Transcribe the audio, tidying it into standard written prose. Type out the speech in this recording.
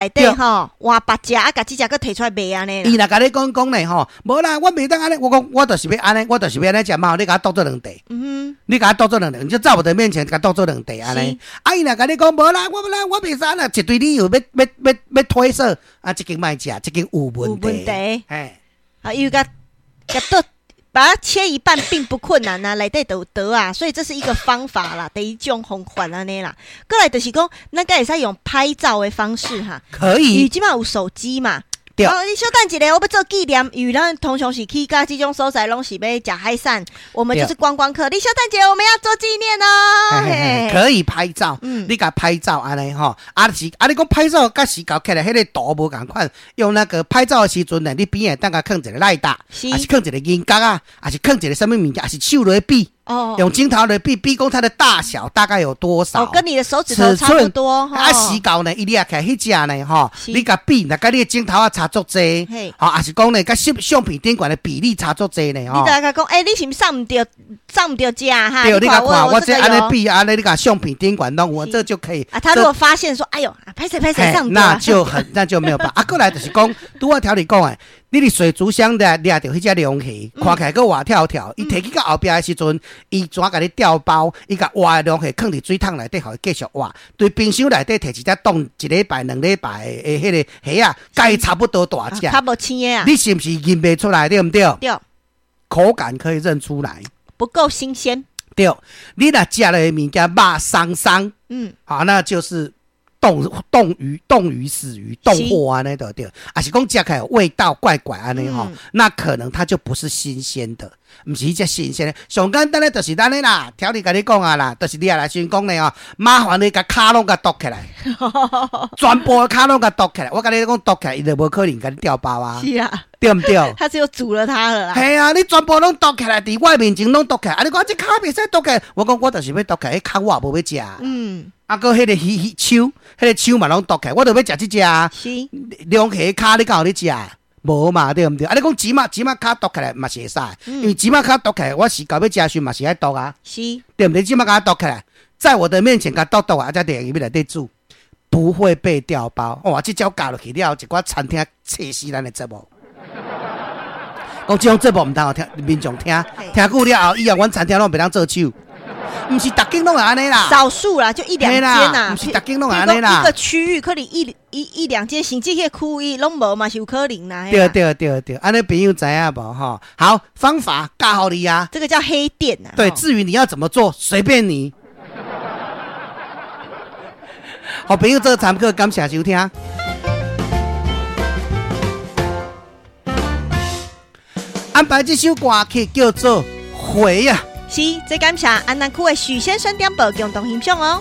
內底吼換別隻，啊，共這隻閣提出來賣按呢。伊若共你講講咧吼，無啦，我袂當按呢，我講我就是欲按呢，我就是欲按呢食嘛，你共我剁做兩塊。你共我剁做兩塊，你就在我的面前共剁做兩塊按呢。啊，伊若共你講無啦，我無啦，我袂使按呢，一堆理由欲欲欲欲推說，啊，這間莫食，這間有問題。有問題。嘿。啊，伊共共剁，把它切一半並不困難啊，內底都有刀啊，所以這是一個方法啦，第一種方法按呢啦。過來就是講，咱敢會使用拍照的方式哈？可以。因為這馬有手機嘛。對。哦，你小等一下，我欲做紀念，因為咱通常是去共這種所在，攏是欲食海產，我們就是觀光客。你小等一下，我們要做紀念哦。嘿嘿，可以拍照，你共拍照按呢吼，啊是啊，你講拍照佮時搞起來，彼個圖無仝款，用那個拍照的時陣呢，你邊仔當共囥一個賴打，抑是囥一個銀角仔，抑是囥一個啥物物件，抑是手來比。用鏡頭來比，比講它的大小大概有多少？哦，跟你的手指頭差不多。啊，時到呢，伊掠起來彼隻呢，吼，你共比，若佮你的指頭仔差足濟，吼，抑是講呢，佮相相片頂懸的比例差足濟呢，吼。你共講，欸，你是毋是送毋著，送毋著食哈？對，你共看，我這按呢比，按呢你共相片頂懸攏有，這就可以。啊，他如果發現說，哎喲，歹勢歹勢送毋著，那就很，那就沒有辦法。啊，過來就是講，拄仔調你講的，你佇水族箱掠掠著彼隻龍蝦，看起來閣活跳跳，伊提去到後壁的時陣，伊怎共你調包？伊共活的龍蝦囥佇水桶內底，予伊繼續活。對冰箱內底提一隻凍一禮拜、2禮拜的彼個蝦仔，共伊差不多大隻。較無鮮的啊！你是毋是認袂出來？對毋對？對。口感可以認出來。不夠新鮮。對，你若食落的物件肉鬆鬆，好，那就是凍凍魚、凍魚、死魚、凍貨按呢就對，抑是講食起來味道怪怪按呢吼，那可能它就不是新鮮的，毋是彼隻新鮮的。上簡單的就是按呢啦，條理共你講啊啦，就是你也來先講咧吼，麻煩你共跤攏共剁起來，全部的跤攏共剁起來。我共你講剁起來，伊就無可能共你調包啊。是啊，對毋對？他只有煮了它了啦。係啊，你全部攏剁起來，佇我面前攏剁起來。啊，你講這跤袂使剁起來，我講我就是欲剁起來，彼跤我也無欲食。啊，閣彼個魚魚手，彼個手嘛攏剁起來，我就欲食這隻啊。龍蝦跤你敢有咧食？無嘛，對毋對？啊，你講舌仔舌仔跤剁起來嘛是會使，因為舌仔跤剁起來，我時到欲食時嘛是愛剁啊。對毋對？舌仔共剁起來，在我的面前共剁剁啊，才佇入去內底煮，不會被調包。哇，這招教落去了後，一寡餐廳氣死咱的節目。講這種節目毋通予聽民眾聽，聽久了後，以後阮餐廳攏袂當做手。毋是逐間攏會按呢啦，少數啦，就一兩間啦，毋是逐間攏會按呢啦。一個區域可能一一一兩間，甚至彼個區域攏無嘛是有可能啦。對對對對，按呢朋友知影無吼？好，方法教予你啊。這個叫黑店啊。對，至於你要怎麼做，隨便你。好朋友做參考，感謝收聽。安排這首歌曲叫做《回》啊。是，這感謝安南區的許先生點播共同欣賞哦。